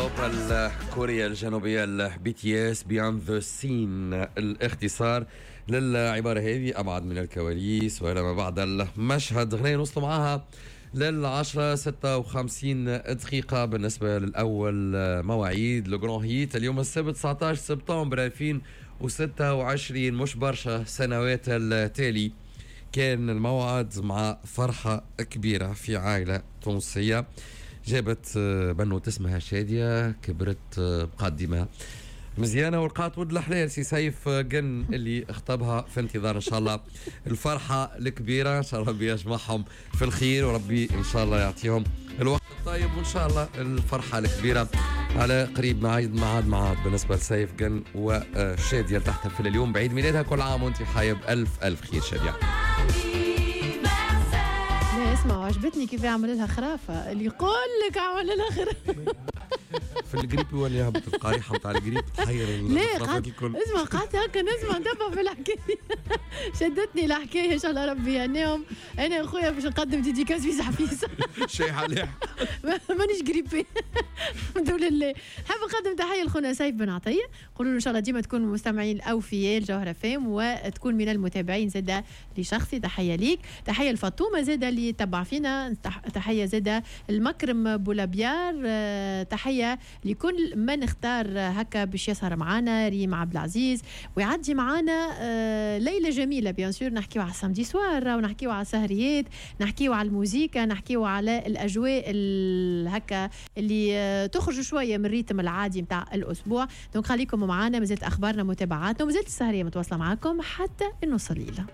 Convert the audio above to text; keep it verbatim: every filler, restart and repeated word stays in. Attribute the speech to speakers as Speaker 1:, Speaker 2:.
Speaker 1: البوب الكورية الجنوبية ال BTS، behind the scene، الاختصار للعبارة هذه، أبعد من الكواليس وإلى ما بعد المشهد. غنية نوصلوا معاها للعشرة ستة وخمسين دقيقة بالنسبة للأول مواعيد le grand hit اليوم السبت تسعة عشر سبتمبر ألفين وستة وعشرين. مش برشا سنوات التالي كان الموعد مع فرحة كبيرة في عائلة تونسية جابت بنوت اسمها شادية، كبرت بقدمة مزيانة ولقات ولد الحلال سي سيف قن اللي اخطبها. في انتظار ان شاء الله الفرحة الكبيرة، ان شاء الله ربي يجمعهم في الخير وربي ان شاء الله يعطيهم الوقت الطيب، وان شاء الله الفرحة الكبيرة على قريب. معاد معاد معاد بالنسبة لسيف قن وشادية تحتفل اليوم بعيد ميلادها. كل عام وانت حية بألف ألف خير شادية.
Speaker 2: لا اسمع، عجبتني كيف يعمل لها خرافة، اللي يقول لك عمل لها خرافة.
Speaker 1: في الجريب يولي يهبط القريحه نتاع الجريب تحير.
Speaker 2: لا قعدت الكل، اسمع، قعدت هكا نسمع نتبع في الحكايه، شدتني الحكايه. ان شاء الله ربي يهنيهم. انا يا خويا باش نقدم dédicace فيسع فيسع.
Speaker 3: شيء عليه.
Speaker 2: مانيش grippée الحمد لله. حاب نقدم تحية لخونا سيف بن عطيه، قولوا له ان شاء الله ديما تكون مستمعين الاوفياء الجوهرة فام وتكون من المتابعين زاده لشخصي. تحية ليك، تحية لفاطمة زاده اللي تبع فينا، تحية زاده المكرم بولابيار، آه، تحية لكل من اختار هكا باش يسهر معنا، ريم عبد العزيز، ويعدي معنا آه، ليلة جميله. bien sûr نحكيو على ال samedi soir ونحكيو على السهريات، نحكيو على الموزيكا، نحكيو على الاجواء هكا اللي آه، تخرج شوية من ال rythme العادي نتاع الاسبوع. donc خليكم معنا، مازالت اخبارنا، متابعاتنا، ومازالت السهريه متواصلة معاكم حتى النص الليله.